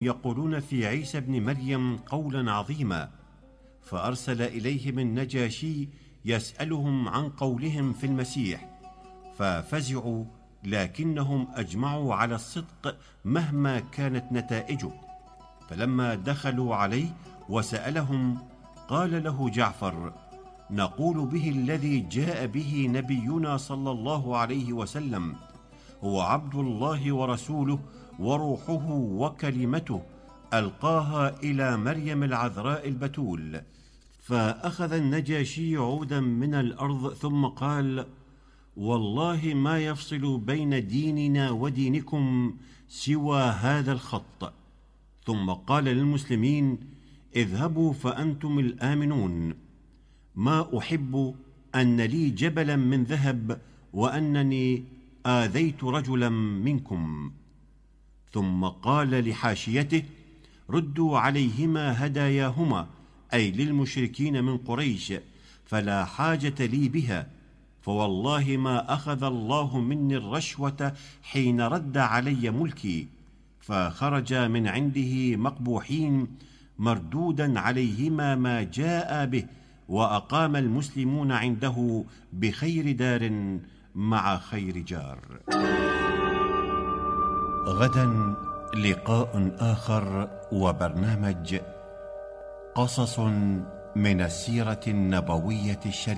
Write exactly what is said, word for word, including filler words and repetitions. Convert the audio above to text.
يقولون في عيسى بن مريم قولا عظيما، فأرسل إليهم النجاشي يسألهم عن قولهم في المسيح، ففزعوا لكنهم أجمعوا على الصدق مهما كانت نتائجه. فلما دخلوا عليه وسألهم قال له جعفر: نقول به الذي جاء به نبينا صلى الله عليه وسلم، هو عبد الله ورسوله وروحه وكلمته ألقاها إلى مريم العذراء البتول. فأخذ النجاشي عودا من الأرض ثم قال: والله ما يفصل بين ديننا ودينكم سوى هذا الخط. ثم قال للمسلمين: اذهبوا فأنتم الآمنون، ما أحب أن لي جبلا من ذهب وأنني آذيت رجلا منكم. ثم قال لحاشيته: ردوا عليهما هداياهما، أي للمشركين من قريش، فلا حاجة لي بها، فوالله ما أخذ الله مني الرشوة حين رد علي ملكي. فخرج من عنده مقبوحين مردودا عليهما ما جاء به، وأقام المسلمون عنده بخير دار مع خير جار. غدا لقاء آخر وبرنامج قصص من السيرة النبوية الشريفة.